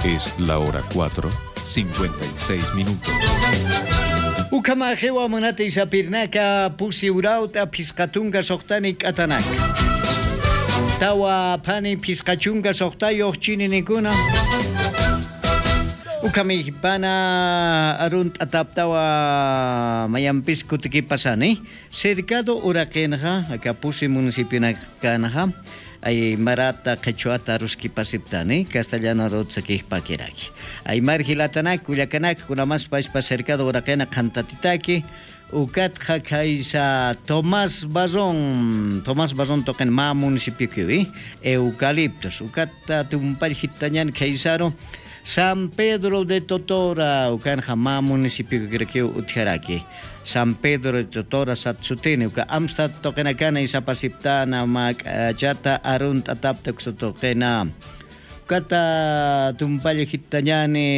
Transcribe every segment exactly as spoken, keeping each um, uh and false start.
Es la hora cuatro, cincuenta y seis minutos. Ukhamaxiwa munati sapirnaka pusi urawt'a phisqa tunka suxtani k'atanak. Tawa phani phisqa chunka suxtayux chininikuna. Ukhamixpana arunt'ataptawa mayampis kutikipasani. Cercado uraqinxa aka pusi municipionakanxa aymarata qhichwata aruskipasiptani castellano arutsakixpakiraki. Aymar jilatanak kullakanak kunamas payspa cercado uraqina qhantatitaki. Ukatxa khaysa tomás barrón tomás barrón tuqin mä municipiokiwi eucaliptos ukata tumpalljittañan khaysaru. San Pedro de Totora ukanxa mä municipiokikrakiw utjaraki. San Pedro de Totora sat sutini uka amstat tuqinakana isapasiptana mä k'achata arunt'atapta uksa tuqina. Ukata tumpalla jittañani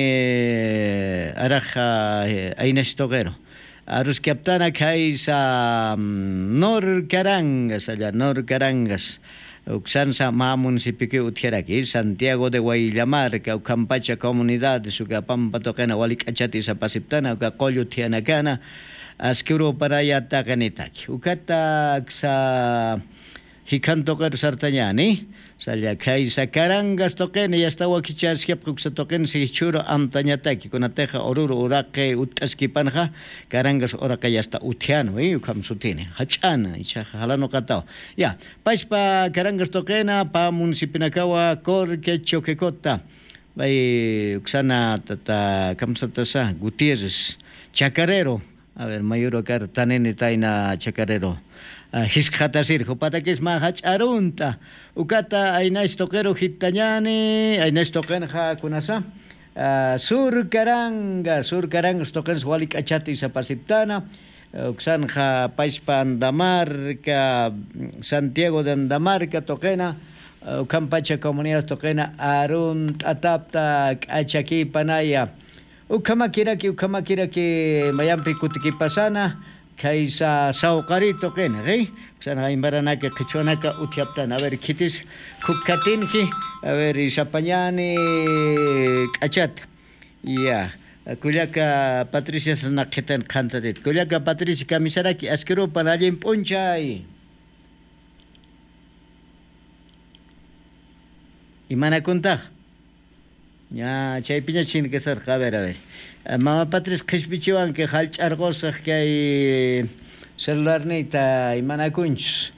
araxa aynas tuqiru. Aruskaptana khaysa norcarangas alla norcarangas. Uksansa mä municipiokiw utjaraki santiago de wayllamarca ukhampacha comunidades uka pampa tuqina wali k'achati sapasiptana uka qullu thiyanakana. Askirupanaya taqinitaki ukata uksa jikhan tuqiru sartañani. Salla khaysa carangas tuqina yasta wakichäskipxi uksa tuqina sichhuru amtañataki kunatixa ururu uraqi utt'askipanxa. Carangas uraqa yasta uthianwi ukham sutini jach'ana ichaxa jalanuqataw. Ya payspa carangas tuqina pä municipionakawa corque choquecota. Bay uksana tata kamsatasa gutierres chacarero. A ver mayurukar tanini tayna chacarero. Jiskxatasir jupatakisma jach'arunt'a. Ukata aynash tuqiru jittañani aynash tuqinxa kunasa. Sur caranga sur carangas tuqinsa wali k'achata isapasiptana. Uksanxa pachpa andamarca santiago de andamarca tuqina ukhampacha comunidad tuqina arunt'atapta k'achakipanaya. Ukhamakiraki ukhamakiraki mayampi kutikipasana. Khaysa sawqari tuqina ri uksanxa imbaranaki qhichwanaka uthiaptana a ver khitis khukkatinji. A ver isapañani k'achata. Ya kullaka patricias naqhitan qhantatit kullaka patricia kamisaraki askirupan allin p'unchay. Imanakuntax? Ña chaypiña chinkasarqa a ver a ver. Mama patris qhispichiwanki jallch'arqusaq kay celularniyta imanakunchus?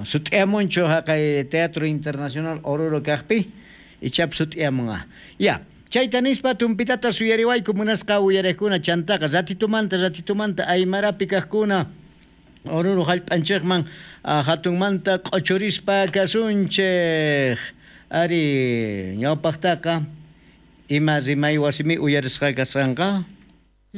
Sut'iyamunchu jaqay teatro internacional oruro kaqpi? Ichap sut'iyamunqa. Ya chayta nispa tumpitata suyariwayku munasqa uyariqkuna chantaqa ratitumanta ratitumanta aymarapi kaqkuna ururu jallp'anchiqman jatunmanta q'uchurispa kasunchiq. Ari ñawpaqtaqa ima rimay wasimi uyarisqa kasqanqa?